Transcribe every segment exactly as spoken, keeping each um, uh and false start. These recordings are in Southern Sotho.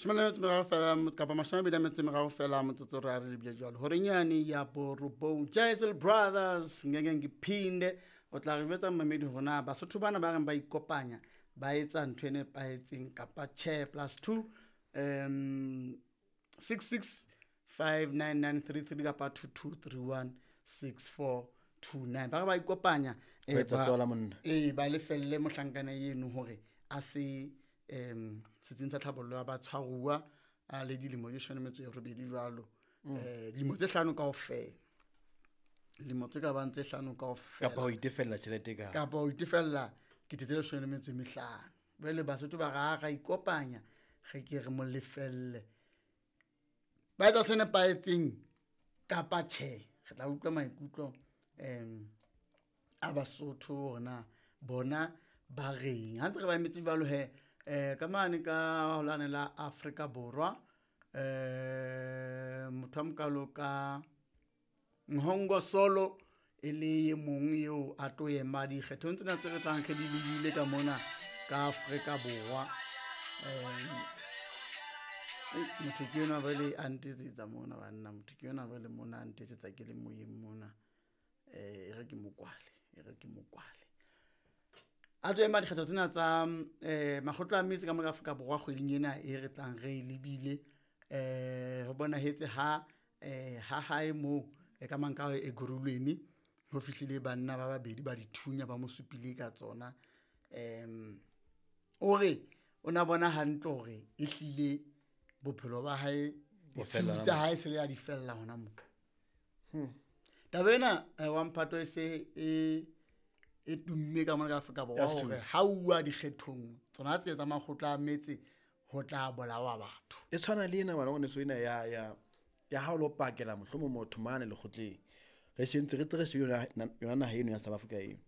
Shome le metso e meraro fela kapa mashome a mabedi a metso e meraro fela motsotso re a re lebile jwalo horeng yane ya borobong. Jazel Brothers, "Ngeke Ngiphinde". O tla re jwetsa, mmamedi, hore na Basotho bana ba reng ba ikopanya ba etsa ntho e nepahetseng kapa tjhe. Plus two um six six five nine nine three three kapa two two three one six four two nine. Ba re ba ikopanya eh, Ho etsa ba- tswala monna. Ee, ba lefelle mohlankana eno hore a se um setsing sa tlhabollo ya batshwaruwa a le dilemo tse shone metso e robedi jwalo, um dilemo tse hlano kaofela, dilemo tse ka bang tse hlano kaofela. Kapa ho itefella tjhelete ka Kapa ho itefella kete tse leshome le metso e mehlano. Jwale Basotho ba re ha ra ikopanya, re ke re mo lefelle. Ba etsa se nepahetseng kapa tjhe? Re tla utlwa maikutlo um a Basotho hore na bona ba reng. Ha ntse re ba emetse jwalo he, um ka mane ka holane la Afrika Borwa, um motho a mokalo ka Nhongo Solo e le e mong eo a tlo ema dikgethong tsena tse re tlang re di lebile ka mona ka Afrika Borwa. um motho ke yona jwale a ntetsetsa mona, banna. Motho ke yona jwale mona a ntetsetsa ke le moyeng mona. um e re ke mokwale, e re ke mokwale. A tlo ema dikgetho tsena tsa um makgotla a metse ka mona ka Afrika Borwa kgweding ena e re tlang re e lebile. um ho bonahetse ha um ha hae moo e ka mang ka Ekurhuleni ho fihlile banna ba babedi ba dithunya, ba mo supile ka tsona. um o re o na bona hantle hore ehlile bophelo ba hae, Bo ditshiu fella tsa hona. Hae se le a di fella hona moo. Taba ena eh, wa mphato e se e e tumme ka mona ka Afrika Borwa Ya sethunya. hore ha uwa dikgethong tsona tse tsa makgotla a metse ho tla bolawa batho. E tshwana le ena, ngwana ngwaneso, ena ya ya ya ha o lo pakela mohlomong motho mane lekgotleng. Re shentse re tse re shebile yona na- yona naha eno ya South Africa eno,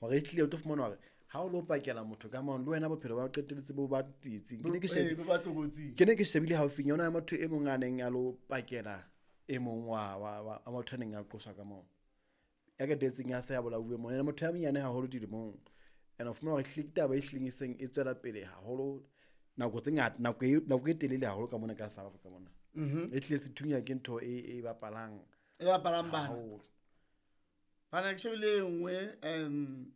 hore e tlile o tlo fumana hore ha o lo pakela motho ka mane, le wena bophelo ba qetelletse bo ba tsietsing. Ke ne ke Ee, shebile bo ba tlokotsing. Ke ne ke shebile haufinyana yona ya motho e mong a neng a lo pakela e mong wa wa wa wa motho a neng a qoswa ka moo, ya qetelletseng ya se ya bolauwe mona. Ene motho ya monyane haholo dilemong, and o fumana hore ehlile ke taba e hlileng e seng e tswela pele haholo nako tse ngata, nako e nako e telele haholo ka mona ka South Africa mona. E hlile sethunya ke ntho e e bapalang E bapalang bana. haholo. Bana, ke shebile e nngwe um